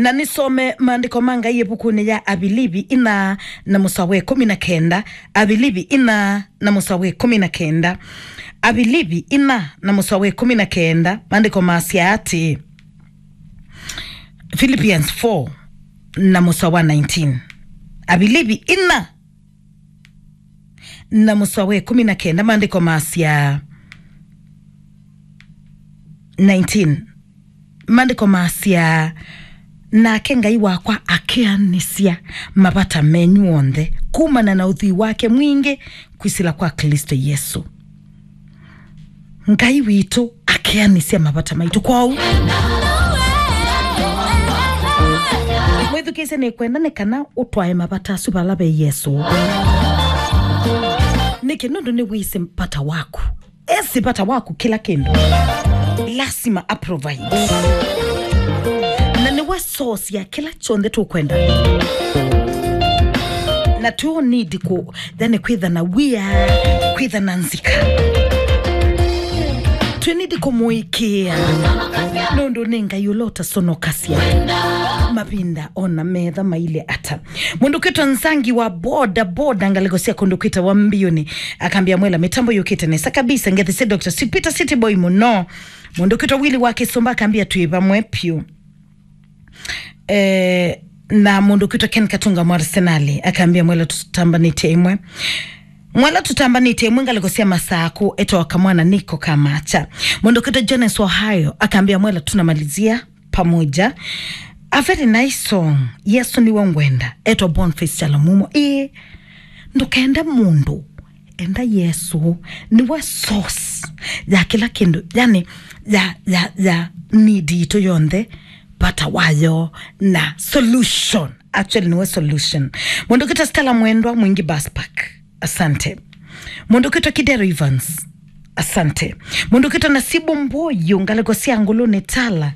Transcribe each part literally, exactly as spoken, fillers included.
Na nĩsome maandĩko ma Ngai ĩvukunĩ ya Avilivi ina na mũsoa wa ĩkũmi na kenda. Avilivi ina na mũsoa wa ĩkũmi na kenda. Avilivi ina na mũsoa wa ĩkũmi na kenda, maandĩko masya atĩĩ, Philippians four na mũsoa wa nineteen. Avilivi ina na mũsoa wa ĩkũmi na kenda, maandĩko masya nineteen. Maandĩko masya, "Nake Ngai wakwa akeanĩsya mavata menyu onthe kumana na ũthwii wake mwingĩ kwĩsĩla kwa Klĩsto Yesũ." Ngai witũ akeanĩsya mavata maitũ. Kwoou, mwĩthukĩĩsye, nĩkwenda nĩ kana ũtwae mavata asu vala ve Yesũ. Nĩkĩ? Nũndũ nĩwĩsĩ vata waku. Esĩ vata waku kĩla kĩndũ. Lasima aprovide. Na nĩwe source ya kĩla kyonthe tũkwenda. Na tũ need kũ, yani kwĩtha na wia, kwĩtha na nzika. Tũ need kũmũĩkĩĩa. Nũndũ nĩ Ngai ũla ũtasonokasya. Mavinda ona metha mailye ata. Mũndũ kwĩtwa Nzangi wa boda boda, ngalĩko sya kũndũ kwĩtawa Mbiũnĩ, akambĩa, "Mwela, mĩtambo yũkĩte nesa kabisa, ngethi sya Doctor Sweet Peter City Boy mũno." Mũndũ kwĩtwa Willy wa Kĩsũmba akambĩa, "Twĩ vamwe vyũ." Eh, na mũndũ kwĩtwa Ken Katunga mwa Arsenal akambĩa, "Mwela, tũtambanĩtye ĩmwe." Mwela, tũtambanĩtye ĩmwe, ngalĩko sya Masakũ, etawa Kamwana Niko Kamacha. Mũndũ kwĩtwa Jones Ohio akambĩa, "Mwela, tunamalizia pamoja." A very nice song. Yesu niwe ngwenda. Etwa Boniface Chalamumo. Ĩĩ, ndũkende mũndũ. Enda Yesu. Niwe source ya kĩla kĩndũ. Yani, ya, ya, ya need itũ yonthe. Vata wayo na solution. Actually, niwe solution. Mũndũ kwĩtwa Stella Mwendwa, Mwingi Bus Park. Asante. Mũndũ kwĩtwa Kidero Evans. Asante. Mũndũ kwĩtwa Nasibu Mboyo, ngalĩko sya Ngũlũnĩ Tala.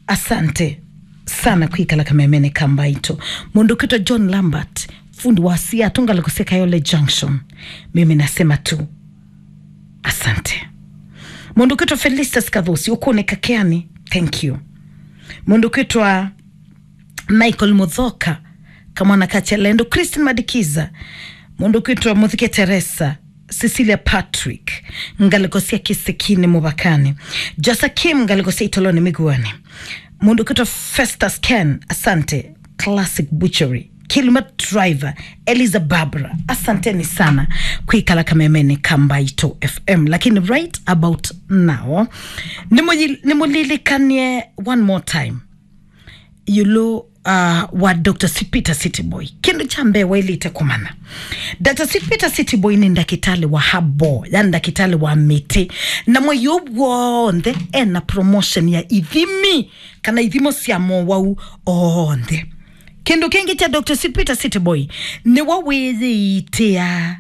Asante sana kwĩkala kamemene ka Mbaitũ. Mũndũ kwĩtwa John Lambert, fundi wa siatũ, ngalĩko sya Kayole Junction. Mimi nasema tu, asante. Mũndũ kwĩtwa Felistas Kathosi, ũkũnĩka Keani. Thank you. Mũndũ kwĩtwa Michael Muthoka, Kamwana ka Chalendo, Christine Madikiza, mũndũ kwĩtwa Muthike Teresa, Cecilia Patrick, ngalĩko sya Kĩsekinĩ Mũvakani, Josa Kim, ngalĩko sya Itoloni Mĩguanĩ, mũndũ kwĩtwa Festus Ken, asante, Classic Butchery, Kilima Driver, Eliza Barbara, asanteni sana kwĩkala kamemene ka Mbaitũ F M. Lakini right about now, nĩmũyi-, nĩmũlilikanie one more time ĩũlũ, uh, wa Doctor Sweet Peter City Boy. Kĩndũ kya mbee waĩlĩte kũmanya, Doctor Sweet Peter City Boy nĩ ndakĩtalĩ wa herbal, yani ndakĩtalĩ wa mĩtĩ. Na mwei ũũ w'onthe ena promotion ya ithimi, kana ithimo sya mowau onthe. Kĩndũ kĩngĩ kya Doctor Sweet Peter City Boy, nĩwe wĩyĩitĩaa.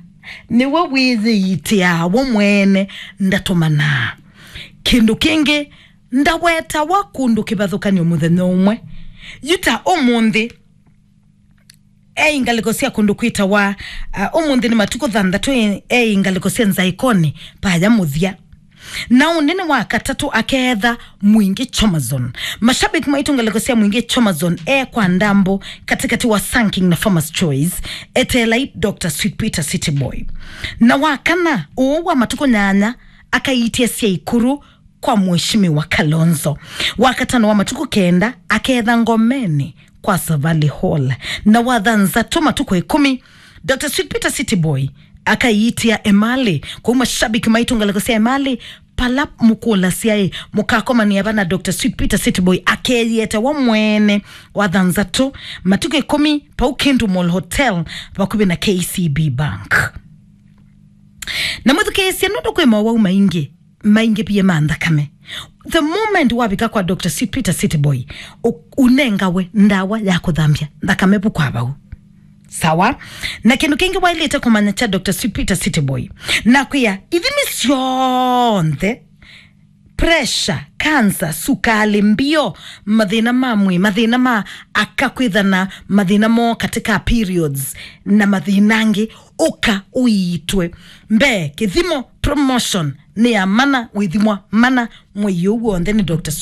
Nĩwe wĩyĩitĩaa we mwene, ndatũmanaa. Kĩndũ kĩngĩ, ndawetawa kũndũ kĩvathũkany'o mũthenya ũmwe. Yu ta ũmũnthĩ, ei ngalĩko sya kũndũ kwĩtawa, uh, ũmũnthĩ nĩ matukũ thanthatũ, ei ngalĩko sya Nzaĩkonĩ, vaya mũthya. Na ũnene wa katatũ akeetha Mwingi Chomazon. Mashabiki maitũ ngalĩko sya Mwingi Chomazon e kwa Ndambo, katĩkatĩ wa Sun King na Farmers Choice, eteelai Doctor Sweet Peter City Boy. Na wa kana, ũũ wa matukũ nyanya, akaitia sya ikuru kwa Mheshimiwa Kalonzo. Wa katano wa matukũ kenda, aketha Ngomeni kwa Savali Hall. Na wa thanthatũ matukũ ĩkũmi, Doctor Sweet Peter City Boy akaiitia Emali. Kwoou mashabiki maitũ ngalĩko sya Emali, pala mũkũlasya ĩ, mũkakomania vana Doctor Sweet Peter City Boy akeyĩete wa mwene wa thanthatũ matukũ ĩkũmi pau Kindu Mall Hotel vakuvĩ na K C B Bank. Na mwĩthukĩĩsye nũndũ kwĩ mowau maingĩ maingĩvie ma nthakame. The moment wavika kwa Doctor Sweet Peter City Boy, u-, ũnengawe ndawa ya kũthambya nthakame vu kwa vau. Sawa? Na kĩndũ kĩngĩ waĩlĩte kũmanya kya Doctor Sweet Peter City Boy, nakwĩa ithimi syonthe, pressure, cancer, sukalĩ, mbio, mathĩna ma mwĩĩ, mathĩna ma aka kwĩthana, mathĩna moo katika periods, na mathĩna angĩ, ũka ũiitwe. Mbee, kĩthimo, promotion, nĩ ya mana, wĩthimwa mana, mwei ũũ w'onthe nĩ Doctor Sweet